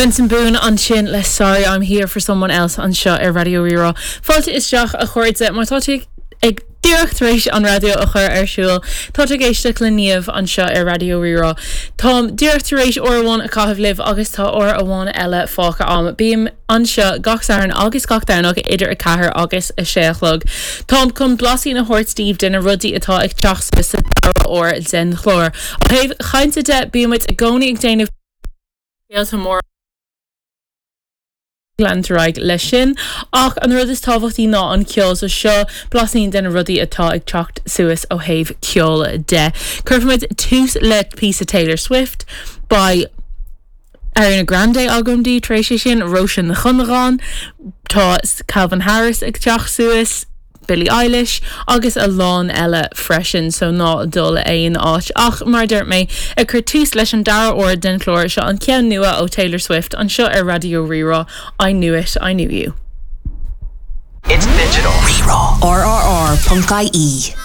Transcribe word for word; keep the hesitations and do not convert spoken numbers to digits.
Benson Boone ansin le sorry I'm here for someone else anseo ar Raidió Rí-Rá. Fáilte isteach a chairde má tá tú ag díreach tar éis an raidió a chur ar siúl Tá ag éisteacht le Niamh anseo ar Raidió Rí-Rá. Táim díreach tar éis uair amháin a chaitheamh libh agus tá uair amháin eile fágtha agam. Bím anseo gach Satharn agus gach Domhnach idir a ceathair agus a sé a chlog. Táim chun blaisín a thabhairt daoibh de na rudaí atá ag teacht sa dara huair den chlár. Ó thaobh cainte de bímid i gcónaí ag déanamh mór leanúint leis sin ach an rud is tábhachtaí ná an ceol so seo blaisín de na rudaí atá ag teacht suas ó thaobh ceol de. Cuirfimid tús le píosa Taylor Swift beidh Ariana Grande agam daoibh tar éis sin Róisín Ní Chuinneagáin tá Calvin Harris ag teacht suas. Billie Eilish agus a lán eile freisin so ná dul aon áit ach mar dúirt mé ag cur tús leis an dara huair den chlár seo an ceann nua ó Taylor Swift anseo ar Raidió Rí-Rá I knew it I knew you. It's digital. RRR.ie